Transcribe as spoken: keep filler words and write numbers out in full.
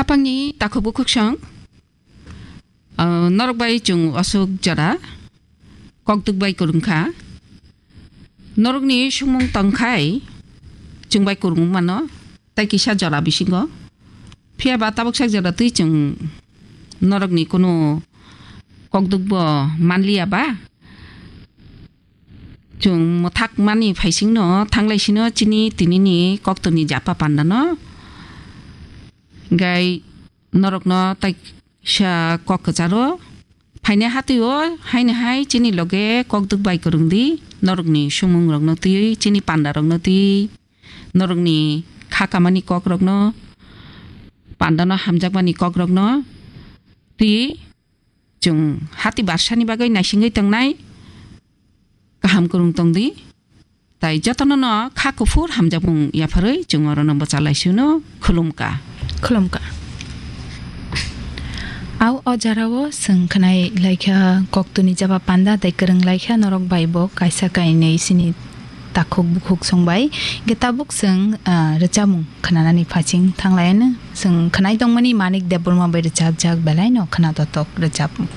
Pangni takhuk bukhuk song, ah, norok bai chwng aswk jora kokdwk bai kwrwng kha. Norokni sumung tongkhai chwng bai kwrwng mano, tai kisa jora bisingo. Phiya ba tabuk sak jora twi chwng norokni kunu kokdwk bo manliya ba. Chwng mwthak mani phaisingno thanglai sino chini tinini koktwni japa pandano. Gai norokno tai sa kok kwcharo. Phainai hatwi o haino hai chini loge kokdwk bai kwrwng di. Norokni sumung rokno twi, chini panda rokno twi, norokni kha kamani kok rokno, pandano hamjakmani kok rokno twi. Chwng hati barsani bagwi naisingwi tongnai kaham kwrwng tong di. Tai jotono no kha kuphur hamjakmung yapharwi chwng orono bwcha laisino khulumka. Khulumka. Au o jarao chwng khwnai laikha koktwni jaba panda tai kwrwng laikha norok bai bo kaisa kainwi sini takhuk bukhuk song bai. Ge tabuk chwng, ah, rwchapmung khwnanani phaising thanglaiano chwng khwnai tongmani Manik Debbarma bai rwchapjak belai no khwna totok rwchapmung.